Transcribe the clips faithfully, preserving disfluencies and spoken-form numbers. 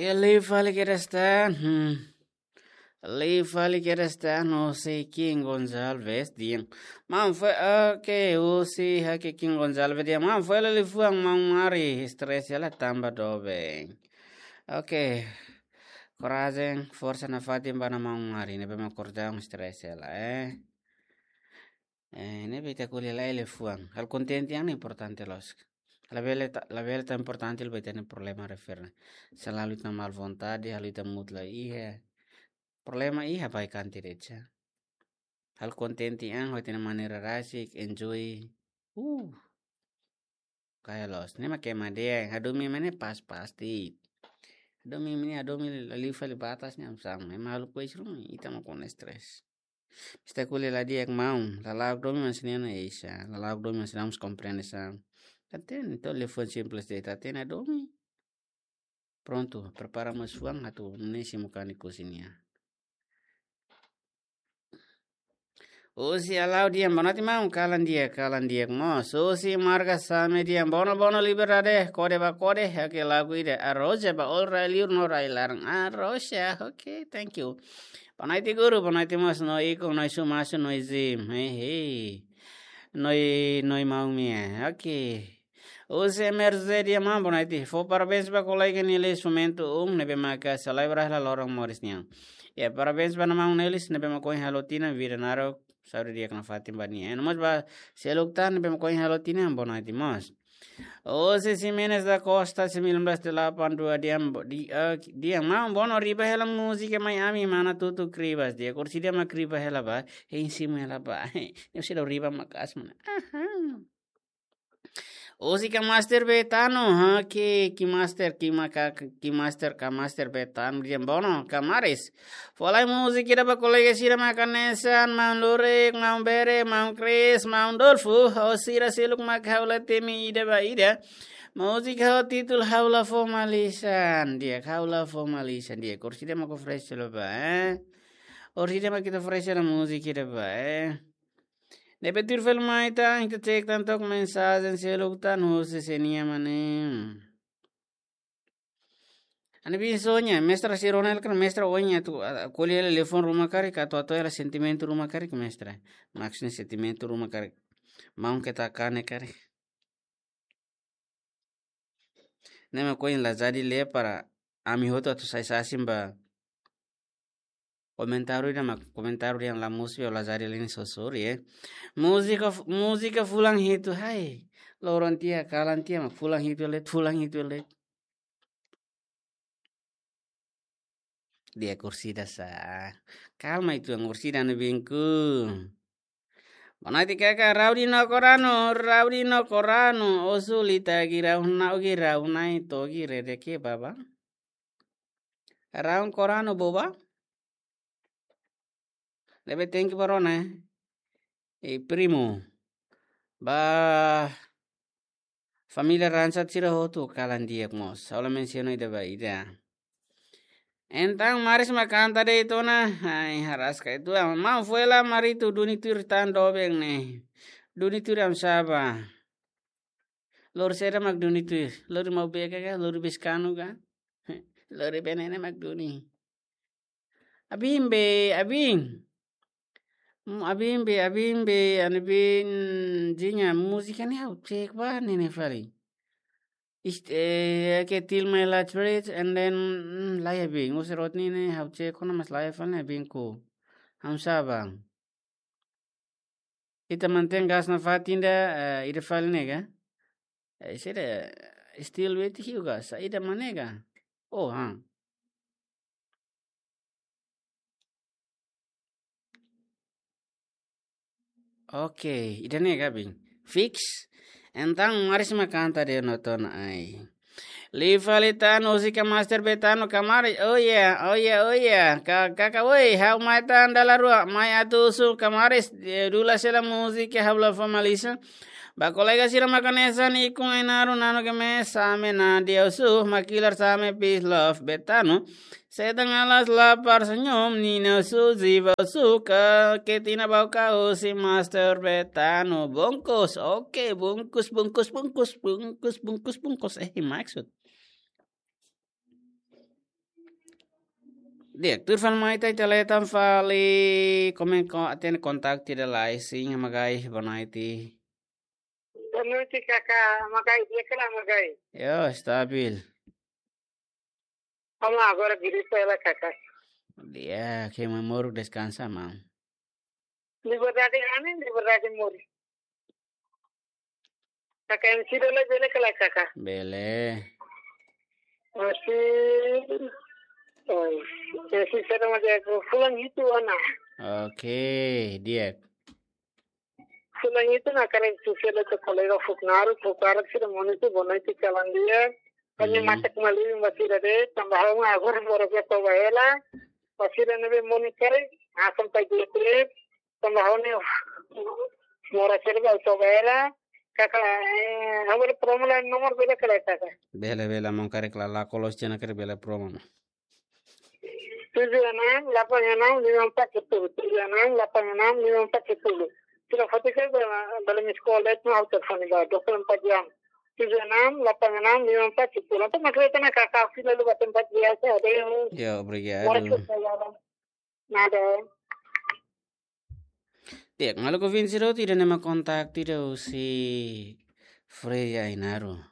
Liu fali kedas tan. Hmm. Liu fali kedas tan, husi King Gonçalves dehan. Maun fo'er, oke, husi ha'u King Gonçalves dehan. Maun fo'er, liafuan maun Mari, stress hela tanba doben. Oke. Korajen, forsa nafatin ba maun Mari, ne'ebé mak kordaun stress hela, eh. Eh, ne'ebé ita ko'alia lai liafuan. Halo kontente an importante loos. Labele ta, labele tan importante liu ba ita-nia problema refere. Selalu ita mal vontade, halo ita mood la iha. Problema iha ba ikan tirecha. Halo kontente an, ho ita-nia maneira rasik, enjoy. Uh. Kayak loos, ne'e mak ema dehan, hadomi ema ne'e pas-pas de'it. Hadomi ema ne'e, hadomi liu fali batas ne'e, am sam, ema halo kois ruma, ita mak kona stress. Ita ko'alia la di'ak maun, lala'ok domin maun sira-nia oinsá, lala'ok domin maun sira-nia komprende sa. Hatene, entaun liafuan simples de'it, hatene hadomi. Prontu, prepara mós fuan atu nune'e simu kanek husi nia. Husi Alau dehan, boa noite maun, kalan di'ak, kalan di'ak mós. Husi Marga Same dehan, bono, bono, liberdade, kode ba kode, oke, lagu ida, Arroja ba oin rai-li'ur no rai-laran. Arroja, oke, thank you. Boa noite guru, boa noite mós, no ikun, no sumasu, no izim, hei, hei. No i, no i maun mia, oke. Husi M R Z dehan, maun, boa noite. Fó parabéns ba kolega nia lesionamentu um, ne'ebé maka selebra hela loron moris nian. Ya, parabéns ba maun Nelis, ne'ebé mak ohin halo tinan, vida naruk, saúde di'ak nafatin ba nia. No mós ba seluk tan, ne'ebé mak ohin halo tinan, boa noite mós. Husi Ximenes da Costa, sembilan belas delapan dua dehan, bo-, di, eh, dehan, maun, bono riba hela múzika mai ami, mana tutu kribas. Di'ak, orsida mak riba hela ba, hein simu hela ba. Ne'e orsida riba maka'as, mana. Aha. Husi KineMaster Betano, ha, ke, KineMaster, Kine ka, KineMaster, KineMaster Betano, dehan bono, kamaris. Fó lai múzika ida ba kolega sira mak hanesan, maun Lurik, maun Bere, maun Kris, maun Dolfo, ho sira seluk mak ha'u la temi ida ba ida. Múzika ho títulu Ha'u La Fó Malisan, di'ak, Ha'u La Fó Malisan, di'ak, orsida mak oferese hela ba, eh? Orsida mak ita oferese hela múzika ida ba, eh? Ne'ebé tuir fali mai tan, ita cek tan to'ok mensajen seluk tan husi sé nian mak ne'e. Ami-nia biin Sonia, mestra sira ona hela karik, mestra oin atu, ah, ko'alia hela liafuan ruma karik, atu hato'o hela sentimentu ruma karik, mestra. Maksudnya sentimentu ruma karik. Maun ketak kanek karik. Ne'e mak ohin la jadi lee para ami hotu atu sai sasin ba komentáriu ida mak, komentáriu ida la mosu, la jadi lee nia sorin, eh. Múzika f-, múzika fulan hitu, hai. Loron tiha, kalan tiha mak fulan hitu de'it, fulan hitu de'it. Di'ak, orsida sa. Kalma ituan, orsida anu binku. Boa noite kaka, Raudi no Korano, Raudi no Korano, osu li tagi rau na ogi rau nai togi rede ke baba. Raun Korano boba. Lebe thank you ba rona, eh. Eh, primo. Ba família Ransat sira hotu kalan di'ak mós. Ha'u la mensiona ida ba ida. Entaun maris mak kanta de'it ona. Ai, haraska ituan. Maun fo'er la Marito duni tuir tan doben ne'e. Duni tuir am saba. Lori saida mak duni tuir. Lori mau beka ka, lori beskanu ka. Lori benene mak duni. Abin be, abin. Mm, abin be, abin be, ani bin, jinga, múzika ne'e ha'u cek ba ne'e ne'e fali. Ist-, eh, ke Till My Last Breath, and then, mm, laiha bin. Husi Rodney ne'e ha'u cek ona mas laiha fali ne'e bin ko. Hamsa bang. Ita mantein gas nafatin ida, eh, ida fali ne'e ka? Eh, saida, still waiting hiu ka? Saida mak ne'e ka? Oh, ha. Oke, ida-ne'e ka bin. Fix. Entaun maris mak kanta de'it ona ai. Liu fali tan husi KineMaster Betano kamaris. Oh yeah, oh yeah, oh yeah. Ka, kaka, oi, ha'u mai tan dala rua, mai atu husu kamaris, eh, dula sela múzika Ha'u La Fó Malisan. Ba kolega sira mak hanesan ikun Ainaro, Nano Gemes, Same Nadia husu, Makilar Same, peace love Betano. Setan alas lapar senyum, Nina husu, Ziva husu, ka, Ketina Bauka husi Master Betano. Bungkus, oke, bungkus, bungkus, bungkus. Eh, maksud. Di'ak, tuir fali mai ita, ita hetan fali, komen ko, hatene kontaktu ida lai, sin, Magai, boa noite. Boa noite, Kaká, Magai, di'ak ka lae, Magai? Yo, stabil. Vamos agora, Giri, pela Kaká. Di'ak, ke mamoro deskansa, maun. Liberdade hanesan, liberdade moris. Kaká M C bele, bele ka lae, Kaká? Bele. Masih. Oh, M C sira mak di'ak, fulan hitu ona. Oke, di'ak. Fulan hitu ona karik sira-ne'e kolega Fuknaro, Fuknaro sira monu tu boa noite kalan di'ak. Hanya Hmm. matak mali masih ada, tanba ha'u agora moras iha Toba hela. Masih ada ne'ebé monu karik, asam pai dia trip. Tanba ha'u-nia moras iha Toba hela. Kaká, eh, ha'u bele promo lai nomor bele ka lae, Kaká? Bele, bele, maun, karik la, la kolos cena karik bele promo. Tujuh enam delapan enam lima empat sepuluh. Tujuh enam delapan enam lima empat sepuluh. Sira foti karik bele, bele miss call, let no auto phone ba, dua puluh empat jam. Tujuh enam delapan enam lima empat sepuluh. Entaun mak hatene Kaká, fila lu ba tempat biasa, ada yang Yo, obrigadu. Ora ke saya. Nada. Di'ak, maluk ouvinte sira hotu, ida-ne'e mak kontaktu ida husi Freya Ainaro.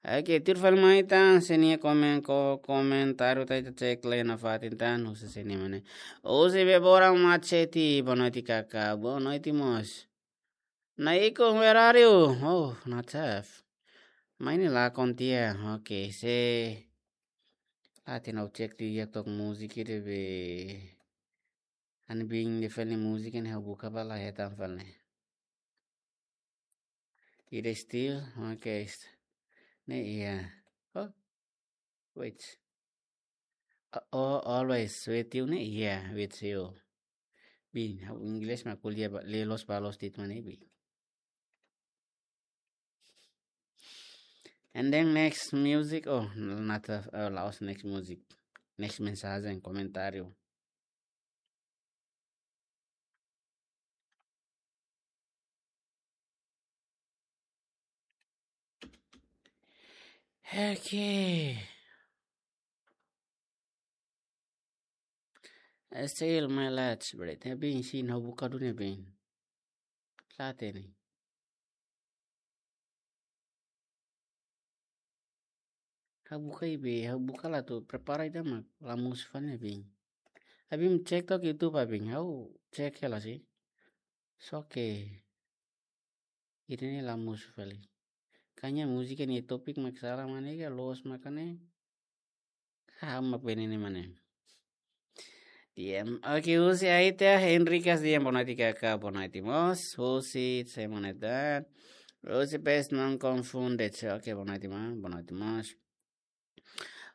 Oke, tuir fali mai ita, se nia komen ko, komentáriu ita, ita cek lai nafatin tan, husi se nia mane. Husi Bebora Machete, boa noite, Kaká, boa noite mós. Naiko, where are you? Oh, not safe. Mai ne'e lakon tiha, oke, se. Hatene, ha'u cek tiha tok múzika ida be. Ha'u-nia biin ida fali múzika ne'e ha'u buka ba la hetan fali. Ida still, oke, st-, ne'e iha. Oh, wait. Uh, oh, always with you ne'e iha, with you. Biin, ha'u inglés mak ko'alia ba, lee loos ba loos tiha mak ne'e, biin. And then next music, oh, not, uh, la'ós next music. Next mensajen, komentáriu. Oke. Still my lights, bro. Ne'e biin, sin, ha'u buka duni biin. La hatene. Ha'u buka iha be, ha'u buka la atu prepara ida mak la mosu fali ne'e biin. Abim cek tok YouTube abim, ha'u cek hela sih. Só ke ida-ne'e la mosu fali. Kayaknya múzika nia topik mak sala mak ne'e ka loos mak ne'e. Ka mak bene ne'e mak ne'e. Di'ak, oke, husi Aita Henrikas, di'ak, boa noite Kaká, boa noite mós. Husi, se mana tan. Husi pes não confunde, oke, boa noite, maun, boa noite mós.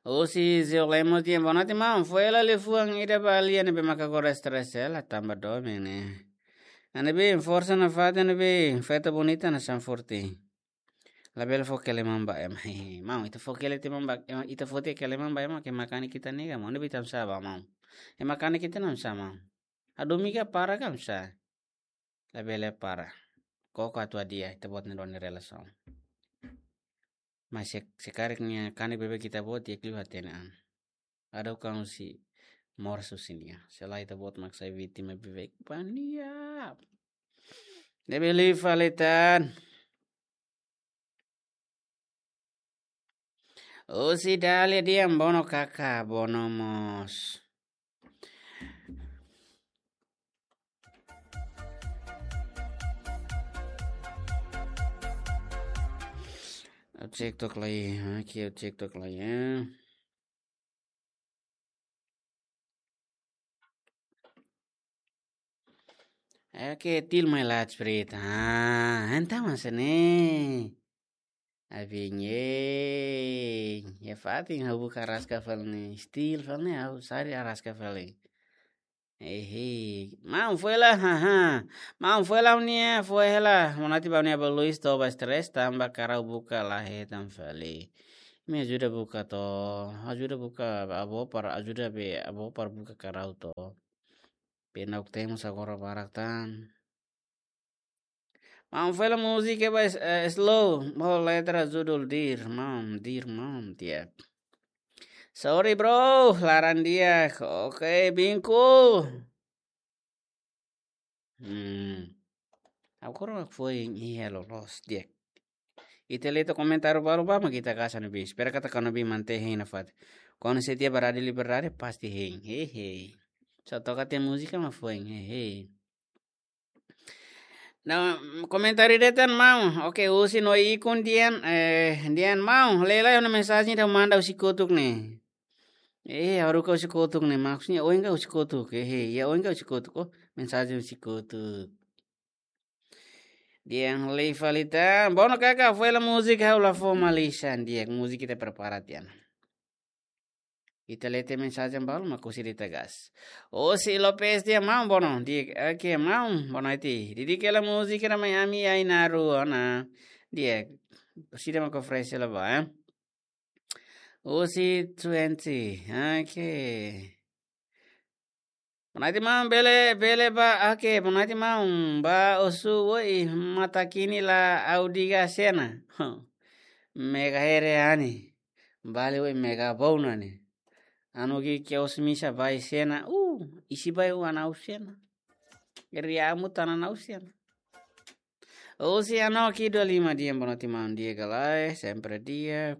Husi Zio Lemos, di'ak, boa noite, maun. Foin hela liafuan ida ba lia ne'ebé maka agora stress hela, tanba domin ne'e. Ne'ebé, forsa nafatin ne'ebé, festa bonita na San Forte. Labele fó kele maun ba ema. Maun, ita fó kele tiha maun ba ema, ita fó tiha kele maun ba ema, ke mak kanek ita nega, maun, ne'ebé ita hamsa ba, maun. Ema kanek ita hamsa, maun. Adu miga para ka hamsa. Labele para. Koko atu hadi'a, ita-boot ne'e duni relasaun. Mas se, se karik nia kanek beibeik ita-boot, di'ak liu hatene an. Adu kan husi moras husi nia. Se lae ita-boot mak sai vítima beibeik ba nia. Ne'ebé liu fali tan. Husi Dalia, di'ak, bono Kaká, bono mós. Ha'u cek tok lai, oke, ha'u cek tok lai, ya. Oke, still my lights, Fred. Ah, entaun hanesan ne'e. Abin, ye, ya fatin ha'u buka araska fali ne'e. Still fali ne'e, ha'u sari araska fali. Ehe, maun foin hela, haha. Maun foin hela nia, foin hela. Manati ba nia ba Luis to ba stress, tanba karau buka la hetan fali. Imi ajuda buka to, ajuda buka avó para, ajuda be avó para buka karau to. Be na'ok temos agora barak tan. Maun foin hela múzika ba s-, eh, slow, ho letra judul Dear Mom, Dear Mom, di'ak. Sorry, bro. Laran di'ak. Oke, bingkul. Hmm. Agora foin iha loloos di'ak. Ita lee tiha komentáriu balu ba mak ita kasa no bis. Espera katak kanu bi mante hein nafatin. Kuandu se tiha baradi liberdade pasti hein. Hehe. Só toka tiha múzika mak foin. Hehe. Nah, komentáriu de'it tan maun. Oke, husi no ikun dian, eh, dian maun. Lee lai ona mensajen ida manda husi kotuk ne'e. Eh, haruka husi kotuk ne'e. Maksudnya, oin ka husi kotuk. Eh, eh, ya oin ka husi kotuk. Oh, mensajen husi kotuk. Dian lee fali tan. Bono kaka, foin hela múzika ha'u la fó malisan di'ak. Múzika ita prepara tiha ona. Ita lee tiha mensajen balu mak husi ita gas. Husi Lopes di'ak maun bono. Di'ak, oke maun bono iti. Dedika hela múzika ida mai ami ai-naru ona. Di'ak. Husi ida mak oferese hela ba, eh. Husi twenty. Oke. Bono iti maun bele, bele ba, oke, bono iti maun ba osu woi mata kini la audiga sena. Mega here ani. Bali woi mega bau nani. Anu ki kios misa bai sena. Uh, isi bai wan au sena. Geri amu tana nau sena. Husi ano ki dua lima di'ak bono iti maun di'ak ka lae, sempre di'ak.